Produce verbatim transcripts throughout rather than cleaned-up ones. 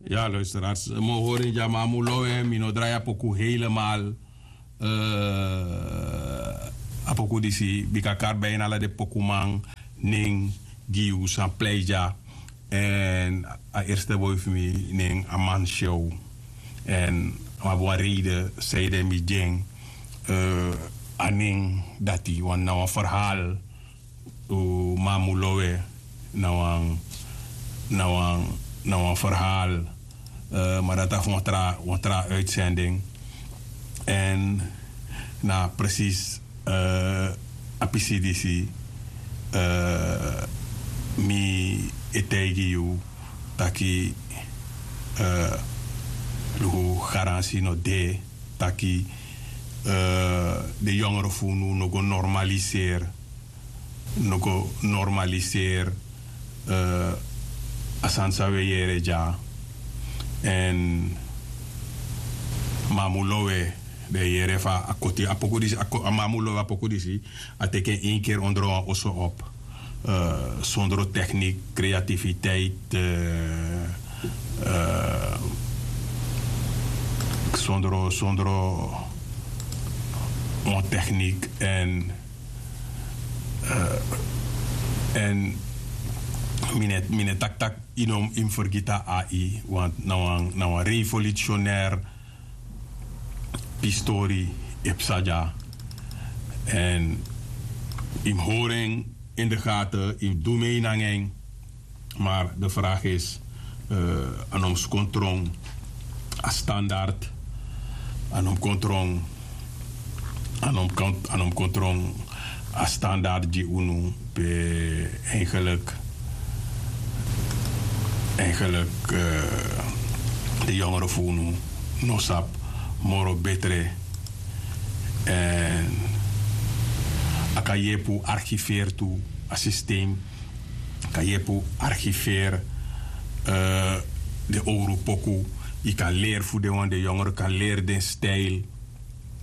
Ya luisteraars, mi o hori en dya, ma a mu lowe, mi no drai a poku helemaal. A poku disi bika kari bijna ala den pokuman nen gi yu san plei dya. Èn a eerste boi fu mi nen a man show. Èn a abi wan reide sei den mi gi en a nen dati wan na wan verhaal. Mamu lowe na wan na wan na wan verhaal. Ma dati a fu wan tra wan tra uitzending. Èn na presis a pisi disi mi e taigi yu taki luku garansi no de taki den yongere fu unu no go normaliseri no go normaliseri a sani san wi e yere dya. Èn mamu lowe den e yere fa a koti a poku disi a mamu lowe a poku disi a teki en ini keri ondro wan oso op sondro teknik kreatifiteit sondro sondro wan teknik èn èn mi no e taki tak' yu no mus fergiti a ai want na wan revolutionair pistori e psa dya. Èn yu mus hori en in de gaten yu mus du mei nanga en. Maar de vraag is a no mus kon tron a standard a no mus kon tron a no mus kon tron a standard gi unu pe eigenlijk eigenlijk de yongere fu unu no sabi moro betre. Èn a kan yepi un archiveer tu a systeem a kan yepi un archiveer den owru poku. Yu kan leri fu den wan den yongere kan leri den stijl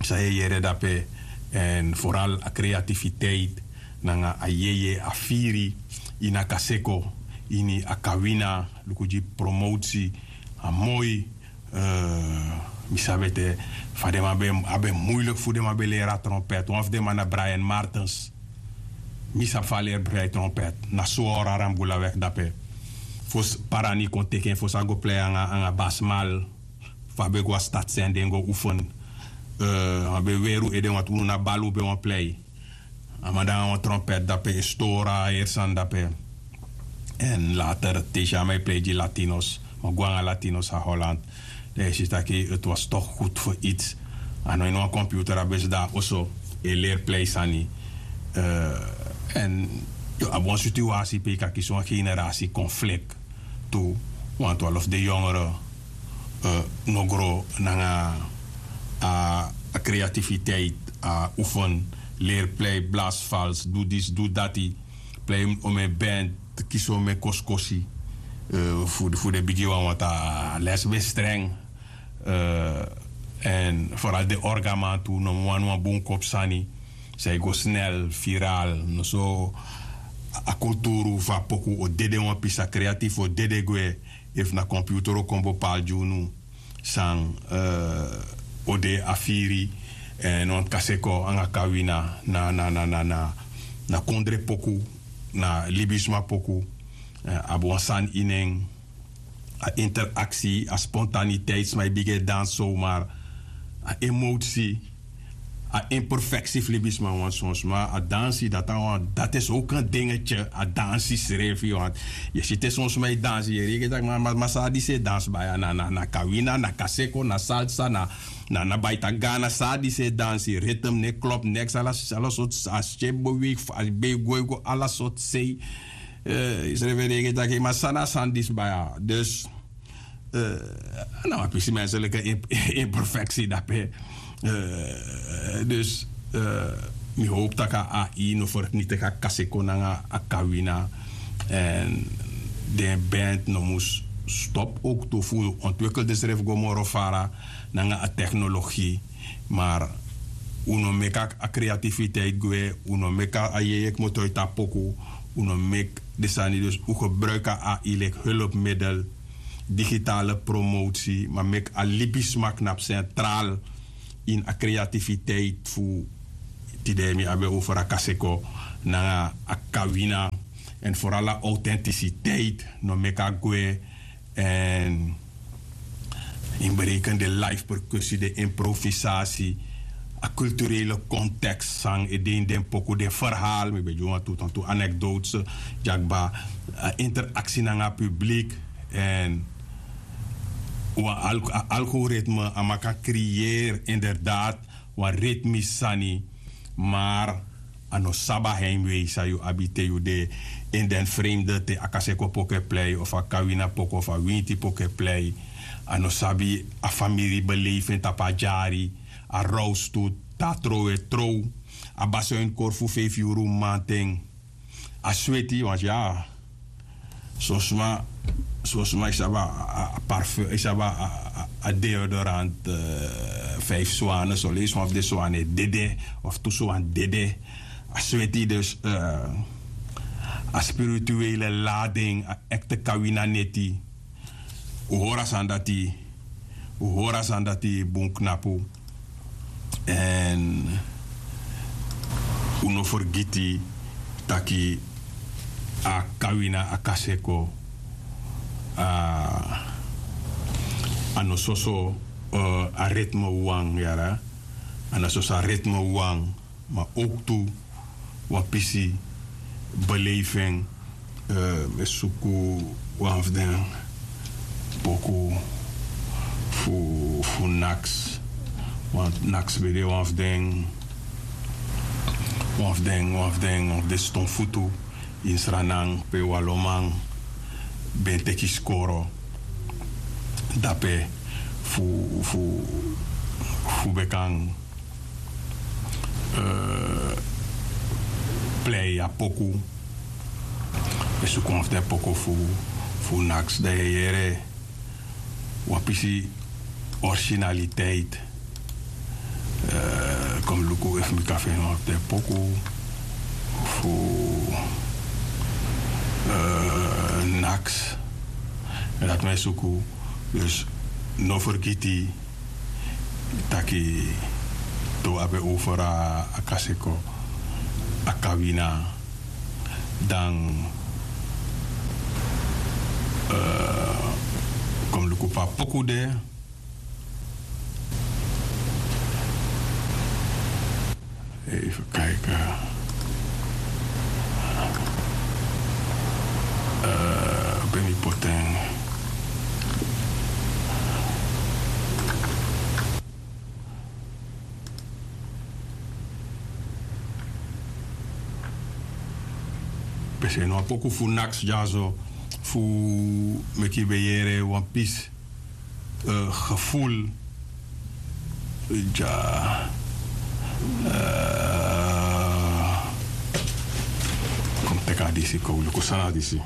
san yu e yere dape. Èn foral a kreatifiteit nanga a yeye a firi ini a kaseko ini a kawina luku gi promotie a moi. Mi sabi ete fa den man ben a ben muilik fu den man ben leri a trompet wan fu den man na brian martens. Mi sabi fa a leri brian trompet na swor aram gulawek dape. Fosi parani kon teki en fosi a go plei anga basmal. Fa a ben go a stati seni den go ufeni. A ben weri un ede wantu unu na bali un ben wan plei. A man de nanga wan trompet dape e stori a heri sani dape. Èn later te yu si a man e plei gi latinos mi o go nanga latinos a holland. Dan yu si taki eti was tok gud fu its. A no ini wan computer a ben sidon na oso e leri plei sani. Èn yu abi wan situasi pe yu kan kisi wan generasi konflik tu. Wantu alo fu den yongere no gro nanga a kreatifiteit a oefen leri plei blasfals du disi du dati. Plei omen band kisi omen kosikosi. Fu den bigi wan want a les ben streng. Èn foral den orgaman tu no mus wani wan bun kopu sani. San e go snel viral no so. A kulturu fu a poku o dede wan pisi a kreatif o dede gwe. Efu na komputuru o kon bopal gi unu san o de a firi èn wan kaseko anga kawina na na na na na kondre poku na libisma poku. Abi wan sani ini en. A interaksi a spontaniteit sma e bigin e dansi somar a emosi a imperfeksi fu libisma wan son sma a dansi dati a wan dati e so kan dingetje a dansi srefi want yu e si te son sma e dansi yu e reken tak' ma ma san disi e dansi baya na na na kawina na kaseko na salsa na na na baita gana san disi e dansi ritem ne klop neks ala ala sortu a skepu beweeg fu a ben e go e go ala sortu sei. Yu srefi e reken tak' ma san na san disi baya dus na wan pisi menselike imperfeksi dape. Dus mi howpu tak' a ai no fertniti tak' a kasi kon nanga a kawina. Èn den band no mus stop owktu fu ontwikkel densrefi go moro fara nanga a teknologi. Mar un no meki a kreatifiteit gwe. Un no meki a yeye kmoto yu tapu poku. Un no meki den sani dus un gebruiki a ai leki hulpmiddel. digitale promotie, ma meki a libisma knapu centraal in a creativiteit fu tide. Mi abi over a kaseko nanga a kawina, en vooral a authenticiteit no meki a gwe. En in berekende live percussie, de improvisatie, a culturele context san e de in den poku, den verhaal, mi ben gi wan tu tan tu anekdotes, dyakba, a interactie nanga publiek. En wan algoritme a man kan creëer inderdaad wan ritmisch sani, maar a no sabi a heimwee san yu abi te yu de in den vreemde, te a kaseko poku e plei of a kawina poku of a winti poku e plei. A no sabi a famiri beleving tapu a dyari, a roustu, te a trow e trow, a basi o ini kori fu feifi yuru mamanten. A sweti want ya, son sma, son sma e sabi a parfum, e sabi a deodorant, fijf swane, son leisi wan fu den swane dede of tu swan dede. A sweti dus, a spirituele lading, a ekte kawina neti. Un hori a sani dati, un hori a sani dati bun knapu. En un no fergiti taki a kawina, a kaseko, a no soso a ritme wan yara. A no soso a ritme wan, ma ook tu wan pisi beleving. Mi e suku wan fu den poku fu naks. Want naks ben de wan fu den, wan fu den wan fu den wan fu den stonfutu ini sranan pe waloman ben teki skoro dape fu fu fu ben kan plei a poku. E suku wan fu den poku fu naks dan yu e yere wan pisi originaliteit. Kon mi luku efu mi kan feni wan fu den poku fu naks. Dati mi e suku. Dus no fergiti taki te un abi over a kaseko, a kawina, dan kon mi luku pe a poku de. Even kijken. Pe mi poti en. Pe se no a poku fu naks dyaso fu meki ben yere wan pisi gevoel. Dya. Kon mi teki a disi, kon wi luku san na disi.